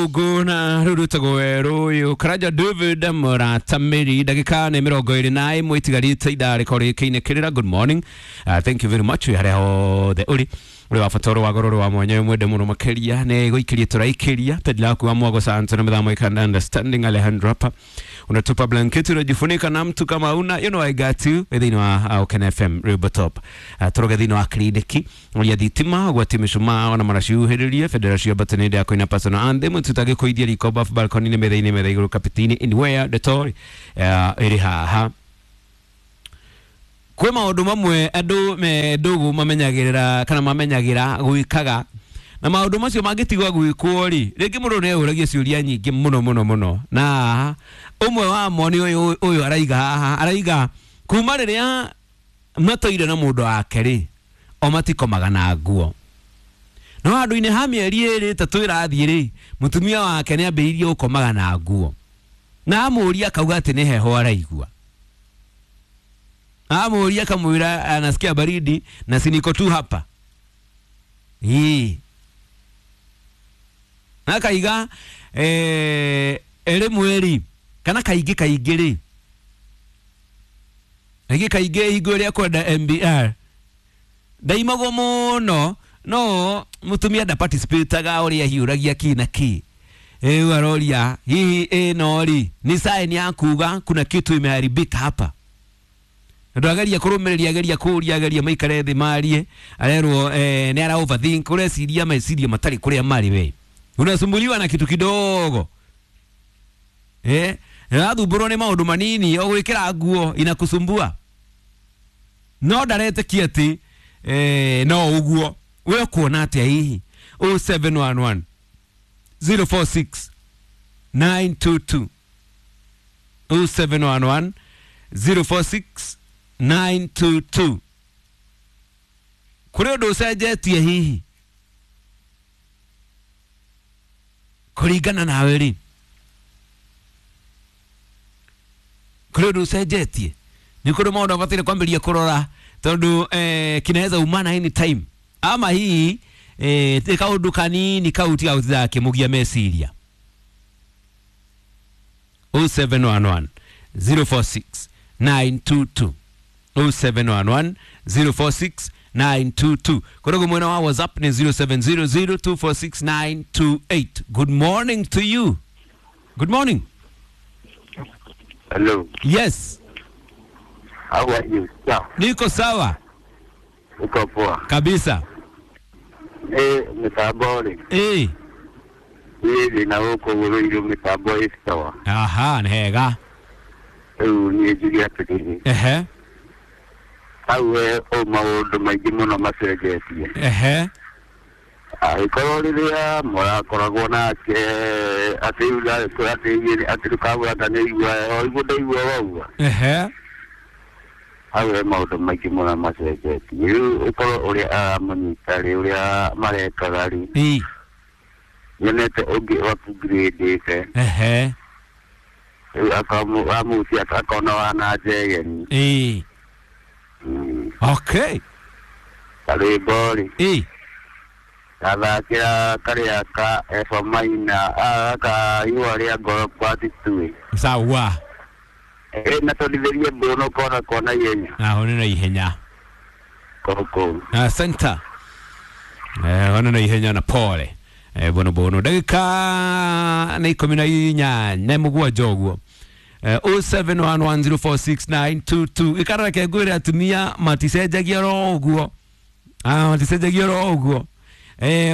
Gĩthũngũ na rĩu rwĩtagwo werũ ũyũ Karanja David Mũratamĩri ndagĩka nĩ 21 itigarĩte ithaa rĩkorwo rĩkĩinĩkĩrĩra. Good morning, thank you very much wĩ harĩa hothe ũrĩ ũrĩ wa bata ũrĩ wa goro ũrĩ wa mwanya wĩ mwende mũno makĩria nĩ gũikĩria tũraikĩria pendi laku wa mwago sante na mĩthamo ikanda understanding Alejandro hapa unatupa blanketi unajifunika na mtu kama una you know I got you thĩinĩ wa Oken FM Rwĩmbo Top. Tũroge thĩinĩ wa kliniki ũrĩa thitima gwati mĩcumaa ona maraciuhĩrĩrie bendera cia mbatanĩndĩ ya kũina personal anthem tutagĩkũithia riko bafu balcony-inĩ metha-inĩ metha igũrũ kapitini anywhere ndeto ĩrĩ haha. Kwĩ maũndũ mamwe andũ me ndũgũ mamenyagĩrĩra kana mamenyagĩra gwĩkaga na maũndũ macio mangĩtigwo gwĩkwo rĩ rĩngĩ mũndũ nĩ eyũragia ciũria nyingĩ mũno mũno mũno na ũmwe wamo nĩ ũyũ ũyũ araiga haha araiga kuma rĩrĩa matũire na mũndũ wake rĩ o matikomaga na nguo no handũ-inĩ ha mĩeri ĩrĩ ĩtatũ ĩrathiĩ rĩ mũtumia wake nĩ ambĩrĩirie gũkomaga na nguo na amũria akauga atĩ nĩ heho araigua. Amuria akamwĩra anasikia baridi na si niko tu hapa. Ii. Na akaiga rĩmwe rĩ kana kaingĩ kaingĩ rĩ kaingĩ kaingĩ hingo ĩrĩa kwenda MBR ndaimagwo mũno no mũtumia ndaparticipataga ũrĩa hiũragia ki na ki. Rĩu aroria hihi ĩno rĩ ni sign ya kuga kuna kitu imeharibika hapa. Ndu ageria kurumiria ageria kuria ageria maikare thi marie arerwo ni ara overthink ureciria meciria matari kuria mari we unasumbuliwa na kitu kidogo rathumbũrwo nĩ maũndũ manini o gwĩkĩra nguo inakusumbua no ndaretĩkia atĩ no ũguo we ũkuona atĩa hihi 0711 046 922 0711 046 922 kũrĩ ũndũ ũcenjetie hihi kũringana nawe rĩ kũrĩ ũndũ ũcenjetie nĩ kũrĩ maũndũ abataire kwambĩrĩria kũrora tondũ kinaweza umana anytime ama hihi kaũndũ kanini kau tiga gũtinda gakĩmũgia meciria. 0711 046 922 0711 046 922 korogo mwena wa WhatsApp ni 0700 246 928. Good morning to you. Good morning. Hello. Yes. How are you? Sawa. Niko sawa. Uko poa. Kabisa. Mitambo rĩ. Niĩ ndĩna gũkũ gũthũire mĩtambo ĩ sawa. Aha, nĩ hega. Rĩu niĩ njuge atĩrĩrĩ. Ehe. Hau we o maũndũ maingĩ mũno macenjetie. Ehe. Angĩkorwo rĩrĩa mũrakoragwo nake atĩ atĩ ndũkagũra ta nĩaigua o iguo ndaigua waua. Ehe. Hau he maũndũ maingĩ mũno macenjetie. Rĩu ũkorwo ũrĩa aramũnyita rĩ ũrĩa marekaga rĩ. Ĩ. Nyonete ũngĩ upgradĩte. Ehe. Rĩu akamũtia akona wana njegeni. Ĩ. Okay. Karwĩmbo rĩ. Ĩ. Gathakĩra karĩa ka Eva Maina ka ihũa rĩa ngoro kwa Titui. Sawa. Na tondithĩrie mbũno kona kona ihenya. Ahone na ihenya. Koko. Asante. Ona na ihenya na pole. Bono bono ndagĩka nĩ 18 na mũgwanja ũguo. 0711046922 ikareke ngwĩre atumia maticenjagia oro ũguo. Maticenjagia oro ũguo.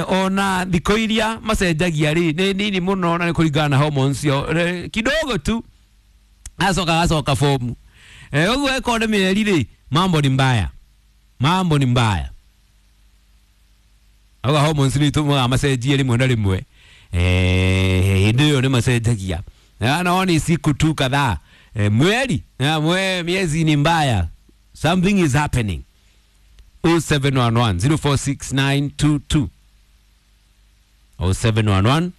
Ona thikũ iria macenjagia rĩ nĩ nini mũno na nĩ kũringana na hormones cio kidogo tu acoka gacoka fomu. Ũguo ĩkorwo nĩ mĩeri rĩ mambo ni mbaya. Mambo ni mbaya. Auga hormones nĩ itũmaga macenjie rĩmwe na rĩmwe. Hĩndĩ ĩyo nĩ macenjagia. Na ni siku tu kadhaa. Mweri na miezi ni mbaya. Something is happening. 0711 046922 0711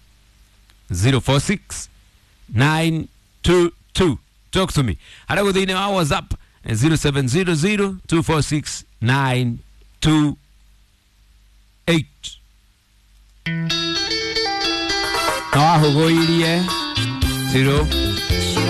046 922. Talk to me. Hara gũthĩinĩ wa WhatsApp 0700 246 928. Na wahũgũirie. Zero.